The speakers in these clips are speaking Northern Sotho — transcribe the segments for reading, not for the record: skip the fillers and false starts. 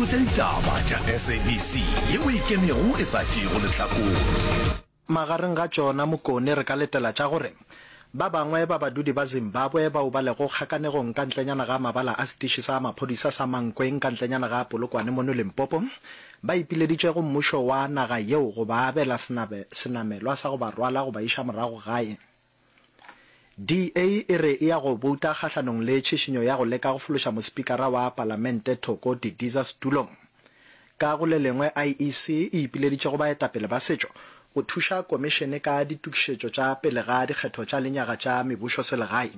Kgolo tša ditaba tša SABC yeo e ikemego e sa tšeego lehlakore. Magareng ga tšona Mokone re ka letela tša gore ba bangwe ba badudi ba Zimbabwe bao ba lego kgakanegong ka ntlenyana ga mabala a setiši sa maphodisa sa Mankweng ka ntlenyana ga Polokwane mono Limpopo ba ipileditše go mmušo wa naga yeo go ba abela senamelwa sa go ba rwala go ba iša morago gae. DA e re e ya go bouta kgahlanong le tšhišinyo ya go leka go fološa mospikara wa palamente Thoko Didiza setulong. Ka go le lengwe IEC e ipileditše go baetapele ba setšo go thuša komišene ka ditokišetšo tša pele ga dikgetho tša lenyaga tša mebušoselegae.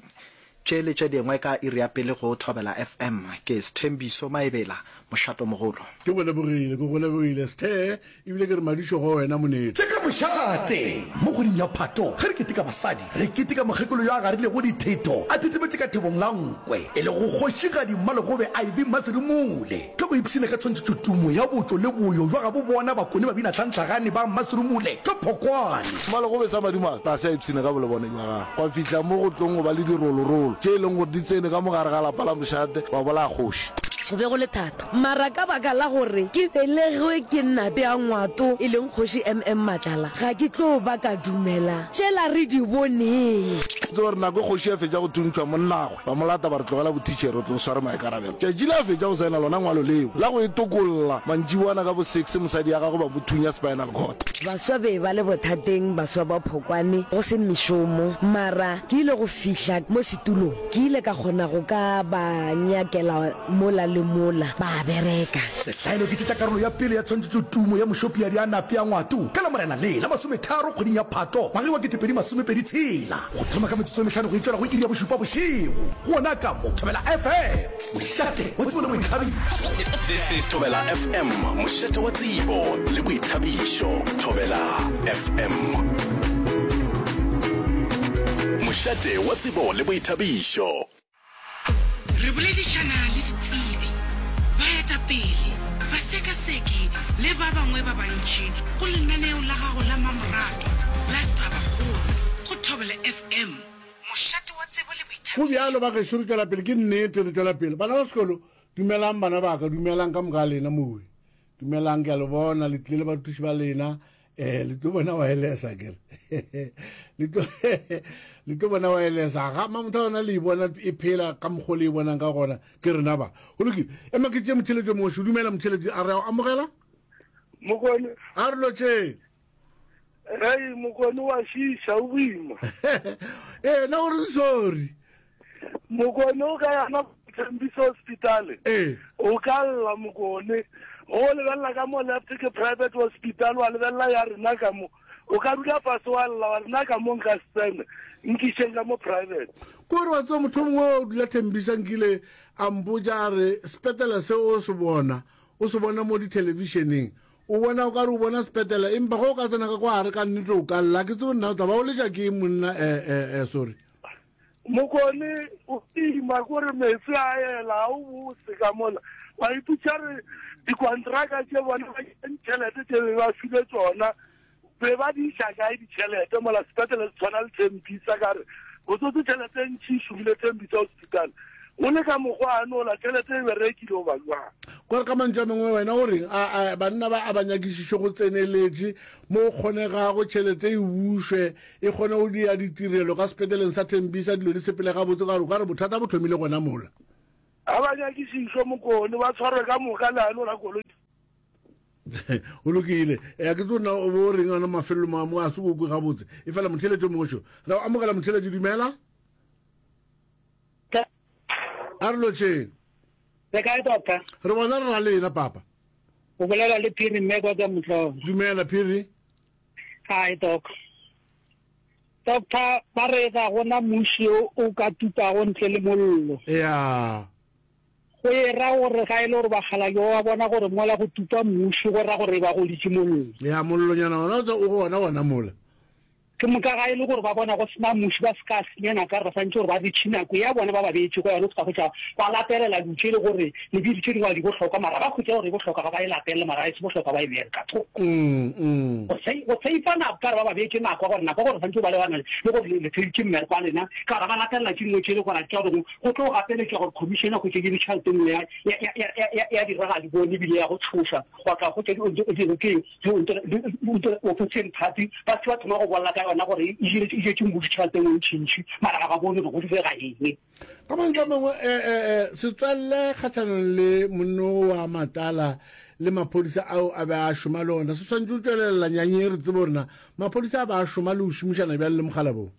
Tše le tše dingwe ka iri ya pele go Thobela FM. Ke Sthembiso Maebela, mošatomogolo. Ke go lebogile, ke go lebogile Sthe, ebile ke re madišo go wena monetši. Tše ka mošate! Mo kgweding ya Phato, ge re keteka basadi, re keteka mokgekolo yo a garilego dithetho a thethemetše ka thebong la nkwe, e lego Kgošigadi Mmalegobe Ivy Mmaserumule. Ke go ipshina ka tshwantšhetšotumo ya botšo le boyo bja gabo bona Bakone babinatlhantlhagane ba Mmaserumule ka Phokwane. Mmalegobe sa madimo a ga se a ipshina ka bolebone bja gagwe, gwa fihla mo go tlong go ba le dirolorolo tše e leng gore di tsene ka mo gare ga lapa la mošate ba bolaya kgoši. Go be go le thata, mara ka baka la gore ke belegwe ke Nape a Ngwato, e leng Kgoši MM Matlala, ga ke tlo ba ka dumela tšela re di boneng. Tseba gore nako e kgoši a fetša go thuntšhwa monnagwe, ba mo lata ba re tlogela bothitšhere o tlo sware maikarabelo. Tšatši le a fetša go saena lona ngwalo leo la go e tokolla, mantšiboana ka bo six mosadi ya gagwe ba mo thunya spinal cord. Baswa be ba le bothateng, baswa ba Phokwane, go se mešomo, mara ke ile go fihla mo setulong, ke ile ka kgona go ka ba nyakela mola le mola, ba bereka. Sehlaelo ke tše tša karolo ya pele ya tshwantšhetšotumo ya Mošopiadi a Nape a Ngwato ka Lamorena le la masometharo kgweding ya Phato ngwageng wa 2026 go thoma ka metsotso e mehlano go e tšwela go iri ya bošupa bošego gona ka mo Thobela FM, mošate wa tsebo le boithabišo. This is Thobela FM, mošate wa tsebo le boithabišo. Thobela FM. Mošate wa tsebo le boithabišo. Re boledišana le ditsebi, baetapele, basekaseki le ba bangwe ba bantši go lenaneo la gago la mamoratwa la Tabakgolo go Thobela FM, mošate wa tsebo le Go bjalo boithabišo. ba gešo, re tšwela pele, ke nnete, re tšwela pele. Bana ba sekolo, dumelang bana ba ka, dumelang ka moka ga lena mowe. Dumelang, ke a le bona, le tlile le barutiši ba lena. Eh, le tlo bona wireless a kere. Le tlo le tlo bona wireless a ga mamotho yona le e bona e phela ka mokgwa le e bonang ka gona ke rena ba. Go lokile. Ema ke tše motšheletši o mongwe šo. Dumela motšheletši a re a o amogela? Mokone. A re lotšeng. Hei mokone wa šiša o boima. Ee, na o re sorry. Mokone o ka yana Thembisa hospital. Ee. O ka lla mokone. Go lebelela ka mo left ke private hospital wa lebelela ya rena ka mo. O ka dula fase wa lla wa rena ka mo nka se tsene. Nkišeng ka mo private. Ko re wa tseba motho mongwe o dula Thembisa nkile a mpotša a re sepetlela se o se bona o se bona mo dithelebišeneng o bona o ka re o bona sepetlela empa ge o ka tsena ka kwa gare ka nnete o ka lla ke tsebe nna o tla ba o letša ke eng monna eh, eh, eh, sorry Mokone o ima kore meetse a ela a o bose ka mola wa ipotša re dikontraka tše bona ba tšhelete tše be ba file tsona be ba di iša kae ditšhelete mola sepetlele se tshwana le Thembisa ka re botsotse tšhelete e ntši e šomile Thembisa hospital o le ka mokgwa a nola tšhelete e berekile o ba jwang Kore ka mantšu a mangwe wena o reng a a banna ba a ba nyakišišwe go tseneletše mo go kgonegago tšhelete e bušwe e kgone go dia ditirelo ka sepetleleng sa Thembisa dilo di sepele gabotse ka gore o ka re bothata bo thomile gona mola. Ga ba nyakišišwe Mokone ba tshwarwe ka moka leano la koloi. Go lokile. Ya ke tlo nna o bo reng ona mafelelo mo mo a se go kwe gabotse. E fela motheletši o mongwe šo. Re o amogela motheletši dumela. A re lotšheng. Le kae doctor? Re bona re ra lena papa. O bolela le Phiri mme kwa ka Motlolo. Dumela Phiri. Hi doc. Doctor ba re ga gona muši o o ka tupago ntle le mollo. Ya. Go e ra gore ga e le gore bakgalabje ba bona gore mola go tupa muši go ra gore ba goditše mollo. Ya mollonyana ona o gona gona mola. Ke moka ga e le gore ba bona go se na muši ba se ka senya nako ka re ba swanetše gore ba reach nako ya bona ba ba beetšego yona go ka hwetša ba lapelela dilo tše e le gore le dilo tše dingwe ga di bohlokwa mara ba hwetša gore e bohlokwa ga ba e lapelele mara ga e se bohlokwa ba e beele ka thoko. Go go seifa nako ka re ba ba beetše nako ya gore nako ya gore swanetše go ba lebana le gore le feditše mmereko wa lena ka gore ba latelela tše dingwe tše e le gore a tša gore go tlo gapeletšwa gore commission ya hwetše ke tšhelete nngwe ya ya ya ya ya ya dira ga di bone ebile ya go tshoša gwa tla hwetša di di ke Opposition party ba se ba thoma go bolela ka yona gore e jetše mmušo tšhelete engwe ntšhintšhi mara ga ba bone gore go direga eng. Ka mantšu a mangwe, setswalle kgahlanong le monno wa Matala le maphodisa ao a be a šoma le ona se swanetše go tšwelelela nyanyeng re tsebe gore na maphodisa a be a šoma le go šomišana bjang le mokgalabong.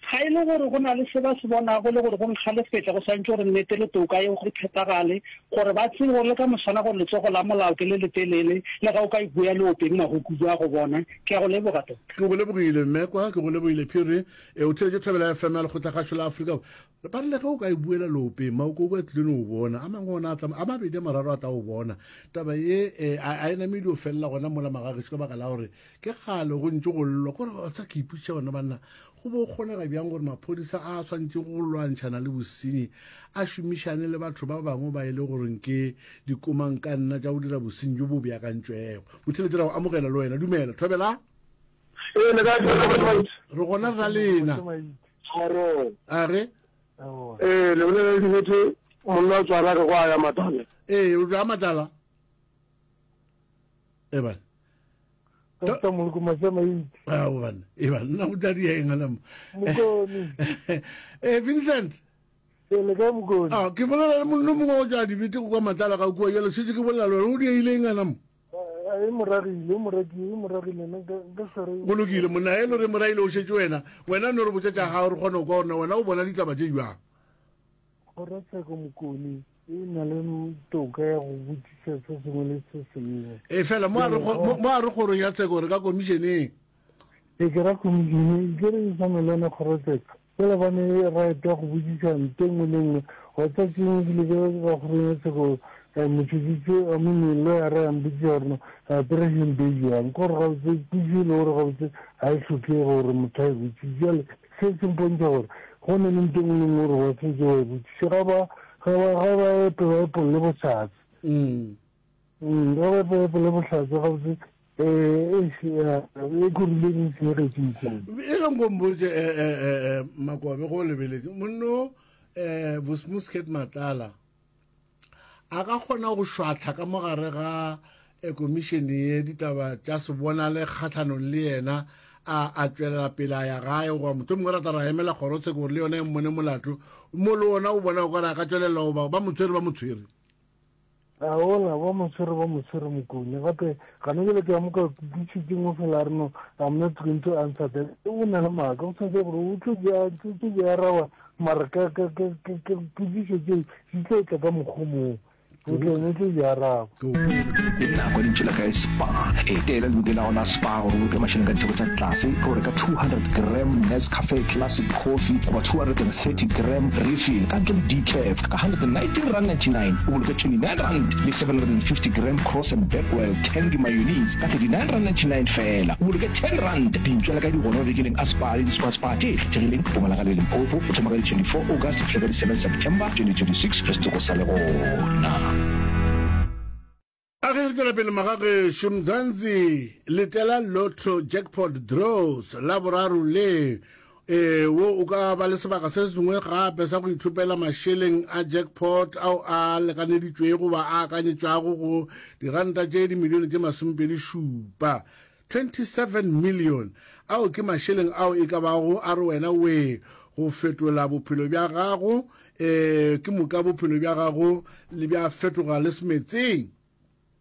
Ga e le gore go na le se ba se bonago le gore go nkgalefetša, go swanetše gore nnete le toka yeo e phethagale, gore ba tsebe gore le ka moswana gore letsogo la molao ke le letelele, le ga o ka ipoya leopeng magokubu a go bona. Ke a go leboga, Doctor. Ke go lebogile, Mmekwa. Ke go lebogile, Phiri. E, o theetše Thobela FM ya Lekgotlakgašo la Afrika. Ba re le ge o ka e buela leopeng, maokobu a tlile no o bona. A mangwe ona a tla, a mabedi a mararo a tla o bona. Taba ye, e, a, a e name e dio felela gona mola magagešo ka baka la gore ke kgale go ntše go llwa. Kore wa tseba ke ipotšiša gona banna, Go bo kgonega bjang gore maphodisa a a swanetšego go lwantšhana le bosenyi a šomišane le batho ba bangwe ba e le goreng ke dikomangkanna tša go dira bosenyi bjo bo beakantšwego? Motheeletši, ra go amogela le wena. Dumela. Thobela. Ee, le kae Thobela? Re gona re ra lena. A re? Ee, le bolela le dibete monna o tswara re go a ya Matala. Ee, o tšwa Matala. Ebane. Doctor Moloko Masamaite. Ah, bana. E bana, nna go tla di eng ana mo. Mokone. Eh Vincent. E le kae Mokone? Ah, ke bolela le monna mongwe o tšwa dibete go kwa Matala ga kua jalo šetše ke bolela le wena o dieile eng ana mo? E moragile, e moragile, e moragile nna nka se re. Go lokile monna e le re moragile o šetše wena. Wena no re botša tša gago re kgone go kwa gore na wena o bona ditaba tše bjang. Kgorotsheko Mokone e na le toka ya go botšiša se sengwe le se sengwe. E fela mo a re mo a re kgorong ya tsheko re ka komišeneng. E ke ra komišene ke re e swana le yona kgorotsheko. Fela ba ne right ya go botšiša nto nngwe le nngwe. Wa tsa tšeng ebile ke ka kgorong ya tsheko motšhotšhisi I mean lawyer ya mpotšiša gore no president e bjang. Ke gore gabotse potšišo e le gore gabotse ga e hlokege gore motho a e botšiše. Jwale Se se mpontšha gore go na le nto e nngwe le nngwe gore wa swanetše wa e botšiše. Ga ba, ga ba, ga ba epe ba epolle bohlatse. Mm. Mm, ga ba epe ba epolle bohlatse gabotse, eh, eish, ya, e kurile e senyegetše mokone. E re nko mpotše, eh, eh, eh, eh, Makobe, go o lebeletše, monno, eh, Vosmuscat Matlala, a ka kgona go šwahla ka mo gare ga eh, komišene ye ditaba tša se bonale kgahlanong le yena a a tšwelela pele a ya gae goba motho mongwe rata ra emela kgorotsheko gore le yona e mmone molato mo le ona o bona o kare a ka tšwelela goba ba mo tshwere ba mo tshwere a ola ba mo tshwere ba mo tshwere mokone gape gane jale ke ya mo ka kutlwisitseng o fela a re no i'm not going to answer that o na le maaka o tshwanetse gore o tlo di araba mara ka ka ka ka potšišo tšeo di tlo tla ka mokgwa mongwe o tlo o tlo di araba. Ke nako ya lentšu la ka Spar. Etela lebenkele la gago la Spar gore o boloke mašeleng ka ditheko tša tlase ge o reka 200 gram Nescafe Classic Coffee goba 230 gram refill ka ntle le decaf ka R119.99, o boloke R29 le 750 gram Cross and Blackwell Tangy Mayonnaise ka R39.99 feela, o boloke R10. Dintšwa le ka di gona mabenkeleng a Spar le di-Spar Spar tše kgethegileng Mpumalanga le Limpopo go thoma ka di 24 August go fihla ka di 7 September 2026 ge setoko sa le gona. A ge re tšwela pele magagešo, Mzansi letela Lotto Jackpot Draws Laboraro le. Ee, wo o ka ba le sebaka se sengwe gape sa go ithopela mašeleng a jackpot ao a lekaneditšwego goba a akanyetšwago go diranta tše dimilione tše masomepedi-šupa, 27 million. Ao ke mašeleng ao e ka bago a re wena wee go fetola bophelo bja gago, ee, ke moka bophelo bja gago le bja fetoga le semetseng.